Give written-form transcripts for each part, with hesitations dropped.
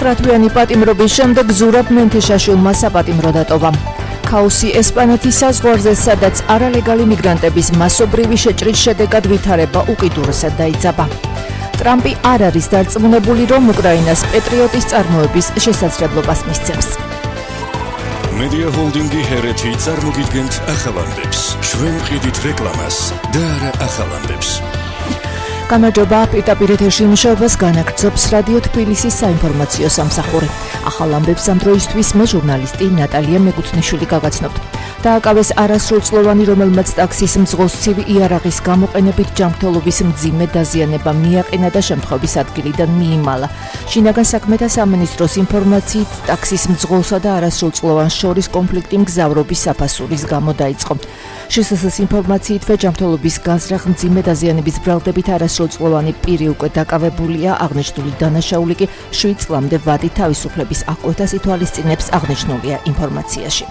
9-თვიანი პატიმრობის შემდეგ ზურაბ მენთეშაშვილმა საპატიმრო დატოვა. ქაოსი ესპანეთის საზღვარზე, სადაც არალეგალი მიგრანტების მასობრივი შეჭრის შედეგად ვითარება უკიდურესად დაიძაბა. ტრამპი არ არის დარწმუნებული, რომ უკრაინას პეტრიოტის წარმოების შესაძლებლობას მისცემს. Media Holdingi Hereti წარმოგიდგენთ ახალანდებს. ჩვენ ვყიდით რეკლამას და არა ახალანდებს. გამარჯობა, პირდაპირ ეთერში მუშაობას განაგრძობს რადიო თბილისის საინფორმაციო სამსახური. ახალ ამბებს ამ დროისთვის მე ჟურნალისტი ნატალია მეკუთვნიშვილი გაგაცნობთ. დააკავეს არასრულწლოვანი, რომელმაც ტაქსის მძღოლს ცივი იარაღის გამოყენებით ჯანმრთელობის მძიმე დაზიანება მიაყენა და შემთხვევის ადგილიდან მიიმალა. შინაგან საქმეთა სამინისტროს ინფორმაციით, ტაქსის მძღოლსა და არასრულწლოვანს შორის კონფლიქტი მგზავრობის საფასურის გამო დაიწყო. შესაძლოა ინფორმაციითვე ჯანმრთელობის გაზრახ მძიმე დაზიანების ბრალდებით არასრულწლოვანი პირი უკვე დაკავებულია, აღნიშნული დანაშაული კი 7 წლამდე ვადით თავისუფლების აღკვეთას ითვალისწინებს, აღნიშნულია ინფორმაციაში.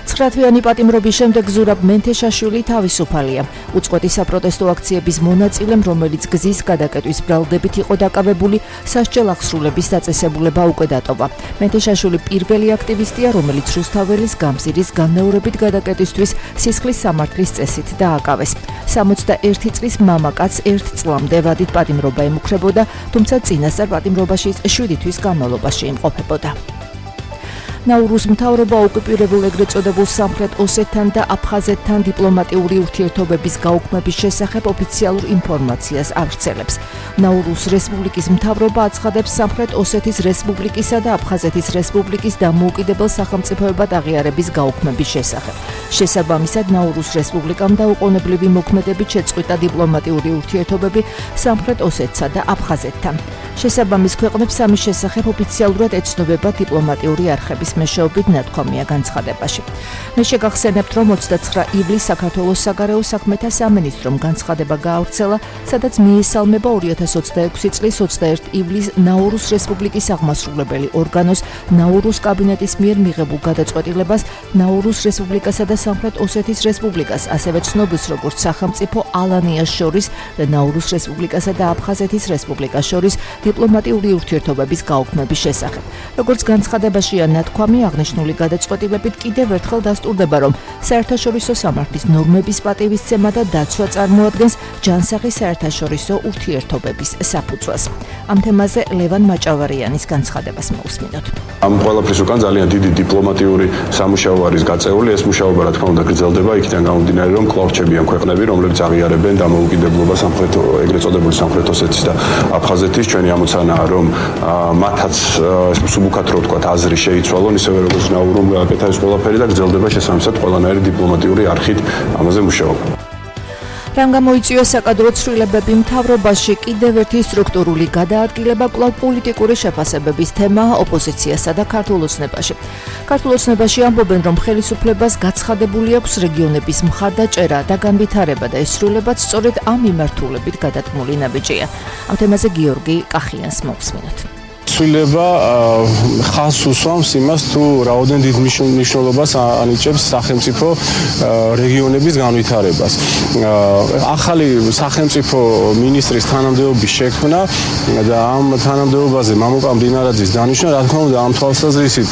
9-თვიანი პატიმრობის შემდეგ ზურაბ მენთეშაშვილი თავისუფალია. უწყვეტი საპროტესტო აქციების მონაწილემ, რომელიც გზის გადაკეტვის ბრალდებით იყო დაკავებული, სასჯელ აღსრულების დაწესებულება უკვე დატოვა. მენთეშაშვილი პირველი აქტივისტია, რომელიც რუსთაველის გამზირის განმეორებით გადაკეტვისთვის სისხლის სამართლის წესით დააკავეს. 61 წლის მამაკაც 1 წლამდე ვადით პატიმრობა ემუქრებოდა, თუმცა წინასწარ პატიმრობაში 7 თვის განმავლობაში იმყოფებოდა. ნაურუს მთავრობა ოკუპირებულ ეგრეთ წოდებულ სამხრეთ ოსეთთან და აფხაზეთთან დიპლომატიური ურთიერთობების გაუქმების შესახებ ოფიციალურ ინფორმაციას ავრცელებს. ნაურუს რესპუბლიკის მთავრობა აცხადებს სამხრეთ ოსეთის რესპუბლიკისა და აფხაზეთის რესპუბლიკის დამოუკიდებელ სახელმწიფოებად აღიარების გაუქმების შესახებ. შესაბამისად, ნაურუს რესპუბლიკამ დაუყოვნებლივი მოქმედებით შეწყვიტა დიპლომატიური ურთიერთობები სამხრეთ ოსეთსა და აფხაზეთთან. შესაბამის ქვეყნებს ამის შესახებ ოფიციალურად ეცნობება დიპლომატიური არხების მეშვეობით ნათქვამია განცხადებაში. მე შეგახსენებთ, რომ 29 ივლისს საქართველოს საგარეო საქმეთა სამინისტრომ განცხადება გაავრცელა, სადაც მიესალმება 2026 წლის 21 ივლისს ნაურუს რესპუბლიკის აღმასრულებელი ორგანოს ნაურუს კაბინეტის მიერ მიღებულ გადაწყვეტილებას ნაურუს რესპუბლიკასა და სამხრეთ ოსეთის რესპუბლიკას, ასევე ცნობილს როგორც სახელმწიფო ალანიას შორის და ნაურუს რესპუბლიკასა და აფხაზეთის რესპუბლიკას შორის დიპლომატიური ურთიერთობების გაუქმების შესახებ. როგორც განცხადებაშია ნათქვამი, აღნიშნული გადაწყვეტილებით კიდევ ერთხელ დასტურდება, რომ საერთაშორისო სამართლის ნორმების პატივისცემა და დაცვა წარმოადგენს ჯანსაღი საერთაშორისო ურთიერთობების საფუძველს. ამ თემაზე ლევან მაჭავარიანის განცხადებას მოусმინოთ. ამ ყველაფრის უკან ძალიან დიდი დიპლომატიური სამუშაო არის გაწეული. ეს მუშაობა, რა თქმა უნდა, გრძელდება იქიდან გამომდინარე, რომ კვლავ რჩებიან ქვეყნები, რომლებიც აღიარებენ დამოუკიდებლობას სამხრეთ ეგრეთ წოდებული სამხრეთ ოსეთის და აფხაზეთის. ჩვენი ამოცანაა, რომ მათაც სუბუქად რო ვთქვათ, აზრი შეიცვალონ, ისევე როგორც ნაურუმ გააკეთა ეს ყველაფერი და გრძელდება შესაბამისად ყველანაირი დიპლომატიური არხით ამაზე მუშაობა. რამ გამოიწვია საკადრო ცვლილებები მთავრობაში, კიდევ ერთი სტრუქტურული გადაადგილება კვლავ პოლიტიკური შეფასებების თემა ოპოზიციასა და ქართულ ოცნებაში. ქართულ ოცნებაში ამბობენ, რომ ხელისუფლებას გაცხადებული აქვს რეგიონების მხარდაჭერა და განვითარება და ეს ცვლილებაც სწორედ ამ მიმართულებით გადადგმული ნაბიჯია. ამ თემაზე გიორგი კახიანს მოусმინოთ. ცვლილება ხაზს უსვამს იმას, თუ რაოდენ დიდ მნიშვნელობას ანიჭებს სახელმწიფო რეგიონების განვითარებას. ახალი სახელმწიფო მინისტრის თანამდებობის შექმნა და ამ თანამდებობაზე მამუკა მდინარაძის დანიშვნა, რა თქმა უნდა, ამ თვალსაზრისით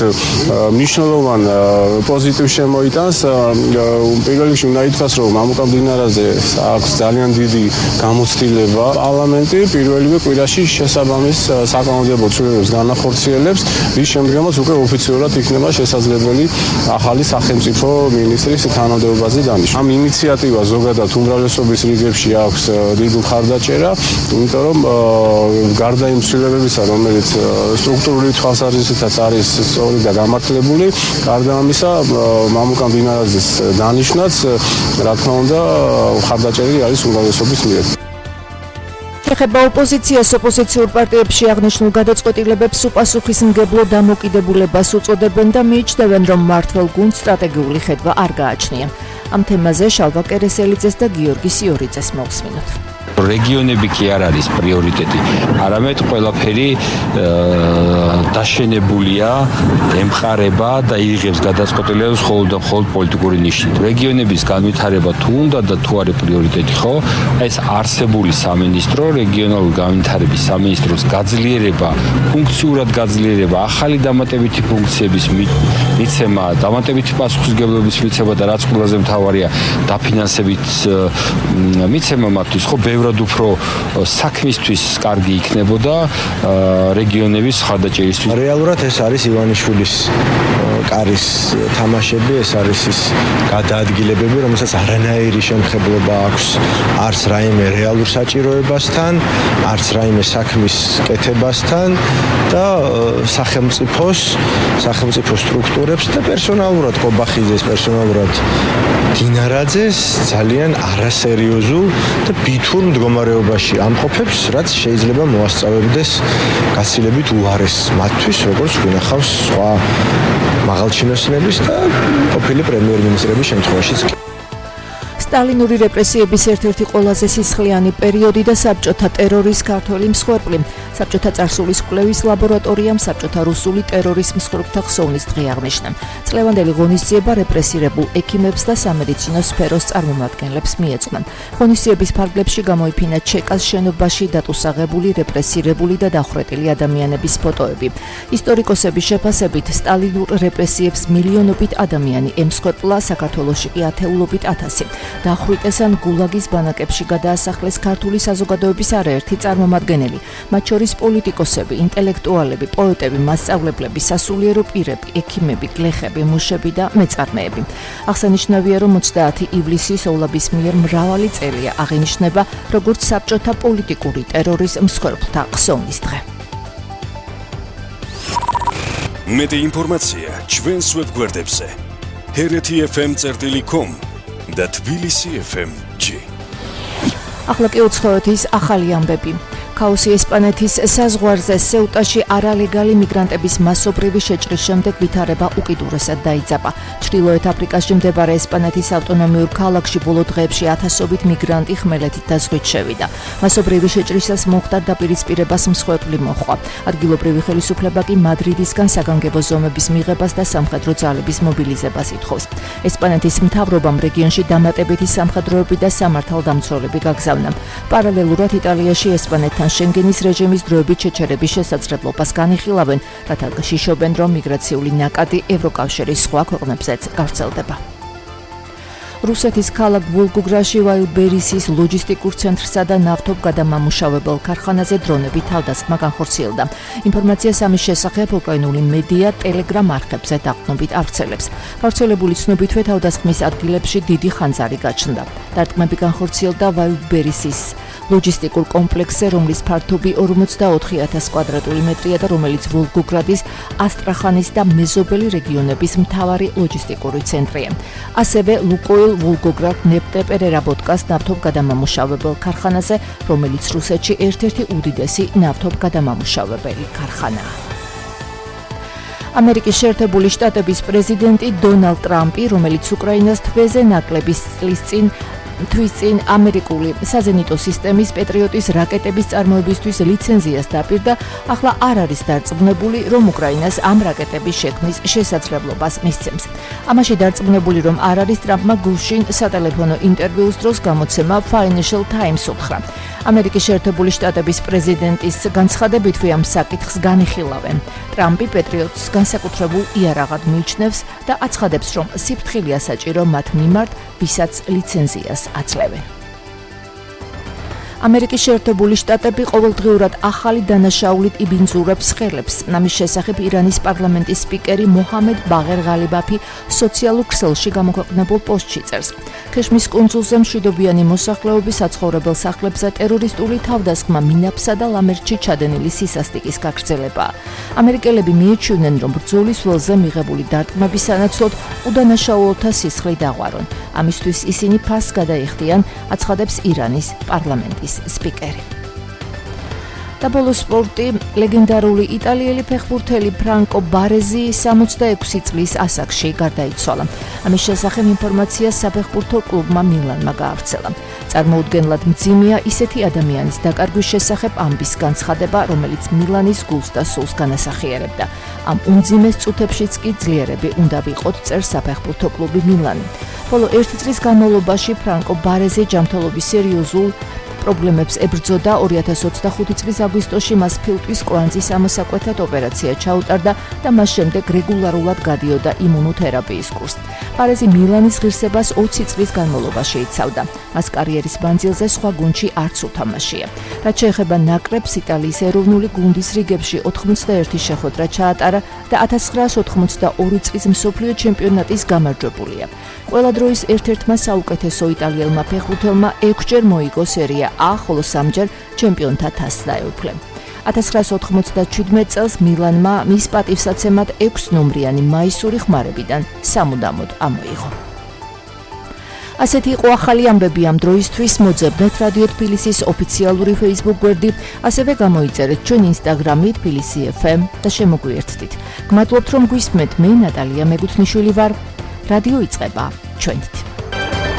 მნიშვნელოვან პოზიტივს შემოიტანს. პირველ რიგში უნდა ითქვას, რომ მამუკა მდინარაძეს აქვს ძალიან დიდი გამოცდილება. პარლამენტი პირველივე კვირაში შესაბამის საკანონმდებლო განახორციელებს, რის შემდეგაც უკვე ოფიციურად იქნება შესაძლებელი ახალი სახელმწიფო მინისტრის თანამდებობაზე დანიშვნა. ამ ინიციატივას ზოგადად უმრავლესობის რიგებში აქვს დიდი მხარდაჭერა, იმიტომ რომ გარდა იმ ცვლილებებისა, რომელიც სტრუქტურული თვალსაზრისითაც არის სწორი და გამართლებული, გარდა ამისა, მამუკა მდინარაძის დანიშვნაც, რა თქმა უნდა, მხარდაჭერილი არის უმრავლესობის მიერ. ეხება ოპოზიციას, ოპოზიციურ პარტიებში აღნიშნულ გადაწყვეტილებებს უპასუხისმგებლო დამოკიდებულებას უწოდებენ და მიიჩნევენ, რომ მმართველ გუნდს სტრატეგიული ხედვა არ გააჩნია. ამ თემაზე შალვა კერესელიძეს და გიორგი სიორიძეს მოусმინოთ. რეგიონები კი არ არის პრიორიტეტი, არამედ ყველაფერი დაშენებულია, ემყარება და იღებს გადაწყვეტილებას მხოლოდ და მხოლოდ პოლიტიკური ნიშნით. რეგიონების განვითარება თუ უნდა და თუ არის პრიორიტეტი, ხო? ეს არსებული სამინისტრო, რეგიონალური განვითარების სამინისტროს გაძლიერება, ფუნქციურად გაძლიერება, ახალი დამატებითი ფუნქციების მიცემა, დამატებითი პასუხისმგებლობის მიცემა და რაც ყველაზე მთავარია, დაფინანსებით მიცემა მათთვის, ხო, ბევრად უფრო საქმისთვის კარგი იქნებოდა რეგიონების ხარდაჭერისთვის. რეალურად ეს არის ივანიშვილის კარის თამაშები, ეს არის ის გადაადგილებები, რომელსაც არანაირი შემხებლობა აქვს არც რაიმე რეალურ საჭიროებასთან, არც რაიმე საქმის კეთებასთან და სახელმწიფო სტრუქტურებს და პერსონალურად კობახიძეს, პერსონალურად დინარაძეს ძალიან არასერიოზულ და ბითურ მდგომარეობაში ამყოფებს, რაც შეიძლება მოასწავებდეს გაცილებით უარეს მათთვის, როგორც გვინახავს სხვა მაღალჩინოსნების და ყოფილი პრემიერ-მინისტრების შემთხვევაშიც. სტალინური რეპრესიების ერთ-ერთი ყველაზე სისხლიანი პერიოდი და საბჭოთა ტერორის ქართველი მსხვერპლი. საბჭოთა წარსულის კვლევის ლაბორატორიამ საბჭოთა რუსული ტერორის მსხვერპლთა ხსოვნის დღე აღნიშნა. წლევანდელი ღონისძიება რეპრესირებულ ექიმებს და სამედიცინო სფეროს წარმომადგენლებს მიეძღვნა. ღონისძიების ფარგლებში გამოიფინა ჩეკას შენობაში დატუსაღებული, რეპრესირებული და დახვრეტილი ადამიანების ფოტოები. ისტორიკოსების შეფასებით, სტალინურ რეპრესიებს მილიონობით ადამიანი ემსხვერპლა, საქართველოში კი ათეულობით ათასი. დახვრიტეს ან გულაგის ბანაკებში გადაასახლეს ქართული საზოგადოების არაერთი წარმომადგენელი, მათ შორის პოლიტიკოსები, ინტელექტუალები, პოეტები, მასწავლებლები, სასულიერო პირები, ექიმები, გლეხები, მუშები და მეწარმეები. აღსანიშნავია, რომ 30 ივლისის ოლაბის მიერ მრავალი წელია აღინიშნება როგორც საბჭოთა პოლიტიკური ტერორის მსხვერპლთა ხსოვნის დღე. მეტი ინფორმაცია ჩვენს ვებგვერდებზე hrt.fm.com და Tbilisi FM-G. ახლა კი უცხოეთის ახალი ამბები. ქაოსი ესპანეთის საზღვარზე სეუტაში არალეგალი მიგრანტების მასობრივი შეჭრის შემდეგ ვითარება უკიდურესად დაიძაბა. ჩრდილოეთ აფრიკაში მდებარე ესპანეთის ავტონომიურ ქალაქში ბოლო დღეებში ათასობით მიგრანტი ხმელეთით და ზღვით შევიდა. მასობრივი შეჭრისას მოხდა დაპირისპირებას მსხვერპლი მოჰყვა. ადგილობრივი ხელისუფლება კი მადრიდისგან საგანგებო ზომების მიღებას და სამხედრო ძალების მობილიზებას ითხოვს. ესპანეთის მთავრობამ რეგიონში დამატებითი სამხედროები და სამართალდამცველები გაგზავნა. პარალელურად იტალიაში ესპანეთთან შენგენის რეჟიმის დროებით შეჩერების შესაძლებლობას განიხილავენ, რათა შიშობენ, რომ მიგრაციული ნაკადი ევროკავშირის სხვა ქვეყნებზეც გავრცელდება. რუსეთის ქალაქ ვოლგოგრადში ვაილბერისის ლოჯისტიკურ ცენტრსა და ნავთობგადამამუშავებელ ქარხანაზე დრონები თავდასხმა განხორციელდა. ინფორმაციას ამის შესახებ უკრაინული მედია ტელეგრამ არხებზე დაყრდნობით ავრცელებს. გავრცელებული ცნობითვე თავდასხმის ადგილებში დიდი ხანძარი გაჩნდა. დარტყმები განხორციელდა ვაილბერისის ლოჯისტიკურ კომპლექსზე, რომლის ფართობი 44,000 კვადრატული მეტრია და რომელიც ვოლგოგრადის, ასტრახანის და მეზობელი რეგიონების მთავარი ლოჯისტიკური ცენტრია. ასევე ლუკოილ ვოლგოგრად ნეფტეპერერაბოტკას ნავთობგადამამუშავებელ ქარხანაზე, რომელიც რუსეთში ერთ-ერთი უდიდესი ნავთობგადამამუშავებელი ქარხანაა. ამერიკის შეერთებული შტატების პრეზიდენტი დონალდ ტრამპი, რომელიც უკრაინას თვეზე ნაკლების თვის წინ ამერიკული საზენიტო სისტემის პეტრიოტის რაკეტების წარმოებისთვის ლიცენზიას დაპირდა, ახლა არ არის დარწმუნებული, რომ უკრაინას ამ რაკეტების შექმნის შესაძლებლობას მისცემს. ამაში დარწმუნებული რომ არ არის, ტრამპმა გუშინ სატელეფონო ინტერვიუს დროს გამოცემა Financial Times უთხრა. ამერიკის შეერთებული შტატების პრეზიდენტის განცხადებითვე ამ საკითხს განიხილავენ. ტრამპი პეტრიოტს განსაკუთრებულ იარაღად მიიჩნევს და აცხადებს, რომ სიფრთხილეა საჭირო მათ მიმართ, ვისაც ლიცენზიას აცლევენ. ამერიკის შეერთებული შტატები ყოველდღიურად ახალი დანაშაულით იბინძურებს ხელებს. ამის შესახებ ირანის პარლამენტის სპიკერი მოჰამედ ბაღერ ღალიბაფი სოციალურ ქსელში გამოქვეყნებულ პოსტში წერს. ქეშმის კუნძულზე მშვიდობიანი მოსახლეობის საცხოვრებელ სახლებზე ტერორისტული თავდასხმა მინაფსა და ლამერტში ჩადენილი სისასტიკის გაგრძელებაა. ამერიკელები მიიჩვენენ, რომ ბრძოლის ველზე მიღებული დარტყმების სანაცვლოდ უდანაშაულთა სისხლი დაღვარონ. ამისთვის ისინი ფასს გადაიხდიან, აცხადებს ირანის პარლამენტის სპიკერი. და ბოლო სპორტი ლეგენდარული იტალიელი ფეხბურთელი ფრანკო ბარეზი 66 წლის ასაკში გარდაიცვალა. ამის შესახებ ინფორმაცია საფეხბურთო კლუბმა მილანმა გაავრცელა. წარმოუდგენლად მძიმეა ისეთი ადამიანის დაკარგვის შესახებ ამბის განცხადება, რომელიც მილანის გულს და სულს განასახიერებდა. ამ უმძიმეს წუთებშიც კი ძლიერები უნდა ვიყოთ, წერს საფეხბურთო კლუბი მილანი. ბოლო 1 წლის განმავლობაში ფრანკო ბარეზი ჯანმრთელობის სერიოზულ პრობლემებს ებრძოდა. 2025 წლის აგვისტოში მას ფილტვის კვანძის ამოსაკვეთად ოპერაცია ჩაუტარდა და მას შემდეგ რეგულარულად გადიოდა იმუნოთერაპიის კურსს. ბარეზი მილანის ღირსებას 20 წლის განმავლობაში იცავდა. მას კარიერის მანძილზე სხვა გუნდში არც უთამაშია. რაც შეეხება ნაკრებს, იტალიის ეროვნული გუნდის რიგებში 81 შეხვედრა ჩაატარა და 1982 წლის მსოფლიო ჩემპიონატის გამარჯვებულია. ყველა დროის ერთ-ერთმა საუკეთესო იტალიელმა ფეხბურთელმა 6ჯერ მოიგო სერია A, ხოლო 3ჯერ ჩემპიონთა თასს დაეუფლა. 1997 წელს მილანმა მის პატივსაცემად 6 ნომრიანი მაისური ხმარებიდან სამუდამოდ ამოიღო. ასეთი იყო ახალი ამბები ამ დროისთვის. მოძებნეთ რადიო თბილისის ოფიციალური Facebook გვერდი, ასევე გამოიწერეთ ჩვენ Instagram-ით თბილისი FM და შემოგვიერთდით. გმადლობთ რომ გვისმენთ. მე ნატალია მეგუთნიშვილი ვარ. რადიო იწყება ჩვენით.